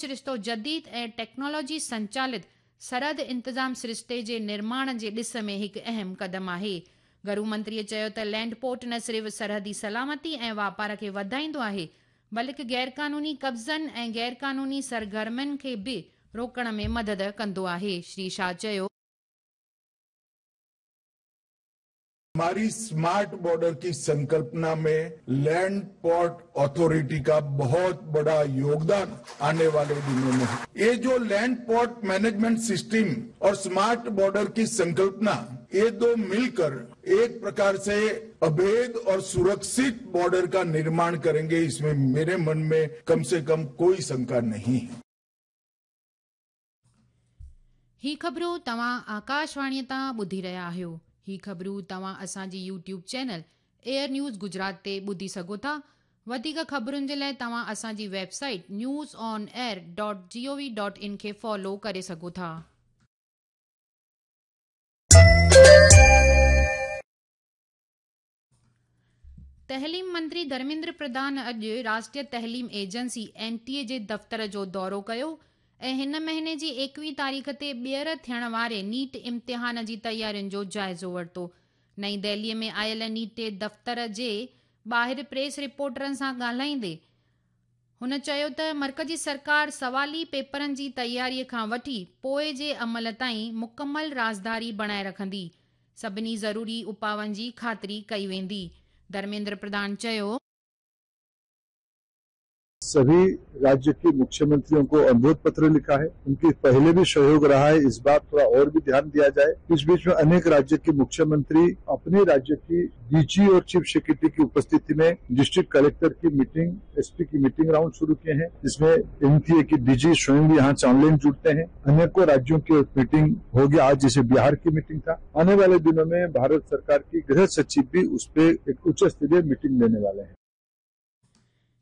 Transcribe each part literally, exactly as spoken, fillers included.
سرشتو جديد ۽ ٽيڪنالاجي سنچالت سرحد انتظام سرشتي جي نرماڻ جي ڏس ۾ هڪ اهم قدم آهي. گهرو منتريءَ چيو ته لينڊ پورٽ نه صرف سرحدي سلامتي ۽ واپار کي وڌائيندو آهي، بلڪه غيرقانوني قبضن ۽ غيرقانوني سرگرمين کي به روڪڻ ۾ مدد ڪندو آهي. شري شاهه چيو، हमारी स्मार्ट बॉर्डर की संकल्पना में लैंड पोर्ट अथॉरिटी का बहुत बड़ा योगदान आने वाले दिनों में है। ये जो लैंड पोर्ट मैनेजमेंट सिस्टम और स्मार्ट बॉर्डर की संकल्पना, ये दो मिलकर एक प्रकार से अभेद और सुरक्षित बॉर्डर का निर्माण करेंगे, इसमें मेरे मन में कम से कम कोई शंका नहीं है। ही ख़बरूं तव्हां आकाशवाणीअ तां ॿुधी रहिया आहियो। ही ख़बरूं तव्हां असांजी YouTube channel air news Gujarat ते ॿुधी सघो था। वधीक ख़बरुनि जे लाइ तव्हां असांजी website news on air dot G O V dot in खे फॉलो करे सघो था। तहलीम मंत्री धर्मेंद्र प्रधान अॼु राष्ट्रीय तहलीम एजेंसी एन टी ए जे दफ़्तर जो दौरो कयो ऐं हिन महीने जी एकवीह तारीख़ ते ॿीहर थियण वारे नीट इम्तिहान जी तयारियुनि जो जाइज़ो वरितो। नई दिल्लीअ में आयल नीट दफ़्तर जे ॿाहिरि प्रेस रिपोर्टरनि सां ॻाल्हाईंदे हुन चयो त मर्कज़ी सरकार सवाली पेपरनि जी तयारीअ खां वठी पोइ जे अमल ताईं मुकमल राज़दारी बणाए रखंदी, सभिनी ज़रूरी उपाउनि जी ख़ातिरी कई वेंदी। धर्मेंद्र प्रधान चयो, सभी राज्य के मुख्यमंत्रियों को अनुरोध पत्र लिखा है, उनकी पहले भी सहयोग रहा है, इस बार थोड़ा और भी ध्यान दिया जाए। इस बीच में अनेक राज्य के मुख्यमंत्री अपने राज्य की डीजी और चीफ सेक्रेटरी की उपस्थिति में डिस्ट्रिक्ट कलेक्टर की मीटिंग, एसपी की मीटिंग राउंड शुरू किए हैं, जिसमें एनटीए की डीजी स्वयं भी यहाँ से ऑनलाइन जुड़ते हैं। अनेकों राज्यों की मीटिंग हो गया, आज जैसे बिहार की मीटिंग था। आने वाले दिनों में भारत सरकार की गृह सचिव भी उस पर एक उच्च स्तरीय मीटिंग लेने वाले हैं।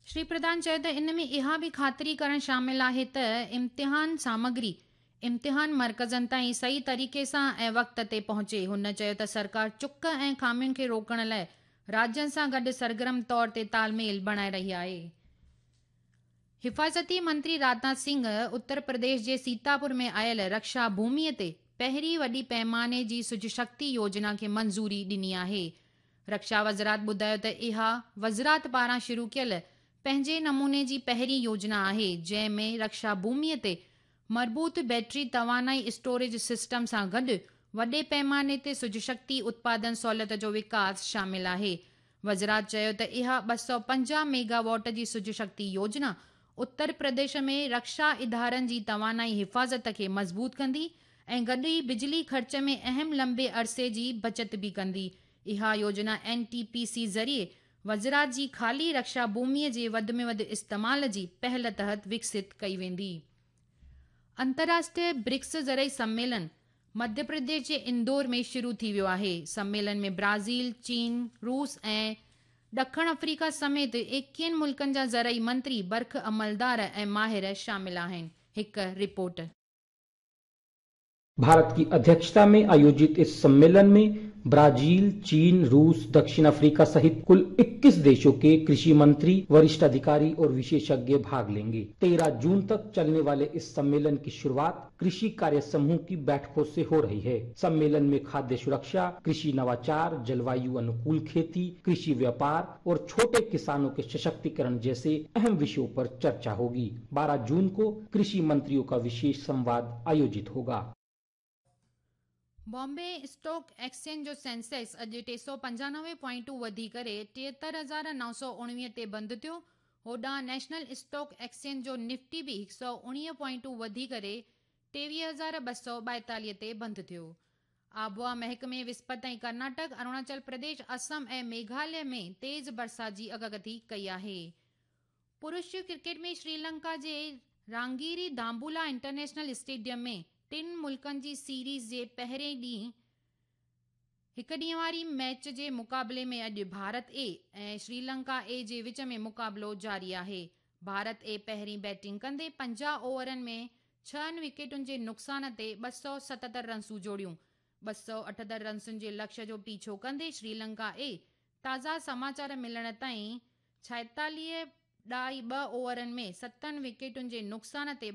श्री प्रधान चयो त इन में इहा बि ख़ातिरी करणु शामिल आहे त इम्तिहान सामग्री इम्तिहान मर्कज़नि ताईं सही तरीक़े सां ऐं वक़्त ते पहुचे। हुन चयो त सरकार चुक ऐं ख़ामियुनि खे रोकण लाइ राज्यनि सां गॾु सरगर्म तौर ते तालमेल बणाए रही आहे। हिफाज़ती मंत्री राजनाथ सिंह उत्तर प्रदेश जे सीतापुर में आयल रक्षा भूमिअ ते पहिरीं वॾी पैमाने जी सुज शक्ति योजना खे मंज़ूरी ॾिनी आहे। रक्षा वज़ारत ॿुधायो त इहा वज़ारत पारां शुरू कयल पंहिंजे नमूने जी पहिरीं योजना आहे, जंहिं में रक्षा भूमिअ ते मर्बूत बैटरी तवानाई स्टोरेज सिस्टम सां गॾु वॾे पैमाने ते सुज शक्ति उत्पादन सहूलियत जो विकास शामिल आहे। वज़ारत चयो त इहा ॿ सौ पंजाह मेगावाट जी सुज शक्ति योजना उत्तर प्रदेश में रक्षा इदारनि जी तवानाई हिफाज़त खे मज़बूत कंदी ऐं गॾु ई बिजली ख़र्च में अहम लंबे अरसे जी बचत बि कंदी। इहा योजना एन टी पी सी ज़रिए वज़ारत जी ख़ाली रक्षा भूमिअ जे वधि में वधि इस्तेमाल जी पहल तहत विकसित कई वेंदी। अंतर्राष्ट्रीय ब्रिक्स ज़रई सम्मेलन मध्य प्रदेश जे इंदौर में शुरू थी वियो आहे। सम्मेलन में ब्राज़ील, चीन, रूस ऐं ॾखण अफ्रीका समेत एकवीहनि मुल्कनि जा ज़रई मंत्री, बर्ख अमलदार ऐं माहिर शामिल आहिनि। हिकु रिपोर्ट। भारत की अध्यक्षता में आयोजित इस सम्मेलन में ब्राजील, चीन, रूस, दक्षिण अफ्रीका सहित कुल इक्कीस देशों के कृषि मंत्री, वरिष्ठ अधिकारी और विशेषज्ञ भाग लेंगे। तेरह जून तक चलने वाले इस सम्मेलन की शुरुआत कृषि कार्य समूह की बैठकों से हो रही है। सम्मेलन में खाद्य सुरक्षा, कृषि नवाचार, जलवायु अनुकूल खेती, कृषि व्यापार और छोटे किसानों के सशक्तिकरण जैसे अहम विषयों पर चर्चा होगी। बारह जून को कृषि मंत्रियों का विशेष संवाद आयोजित होगा। बॉम्बे स्टॉक एक्सचेंज जो सेंसेक्स अॼु टे सौ पंजानवे पॉइंटूं वधी करे टेहतरि हज़ार नौ सौ उणिवीह ते बंदि थियो। होॾां नेशनल स्टॉक एक्सचेंज जो निफ्टी बि हिकु सौ उणिवीह पॉइंटूं वधी करे टेवीह हज़ार ॿ सौ ॿाएतालीह ते बंदि थियो। आबहावा महकमे विस्पति ताईं कर्नाटक, अरुणाचल प्रदेश, असम ऐं मेघालय में तेज़ बरसाति जी अॻकथी कई आहे। पुरुष क्रिकेट में श्रीलंका जे रांगीरी दांबुला इंटरनेशनल स्टेडियम में टिनि मुल्कनि जी सीरीज़ जे पहिरें ॾींहुं हिकु ॾींहं वारी मैच जे मुक़ाबले में अॼु भारत ए ऐं श्रीलंका ए जे विच में मुक़ाबिलो जारी आहे। भारत ए पहिरीं बैटिंग कंदे पंजाह ओवरनि में छहनि विकेटुनि जे नुक़सान ते ॿ सौ सतहतरि रनसूं जोड़ियूं। ॿ सौ अठहतरि रनसुनि जे लक्ष्य जो पीछो कंदे श्रीलंका ए ताज़ा समाचार मिलण ताईं छाएतालीह ڏهائي ٻه اوورن ۾ ستن وڪيٽن جي نقصان تي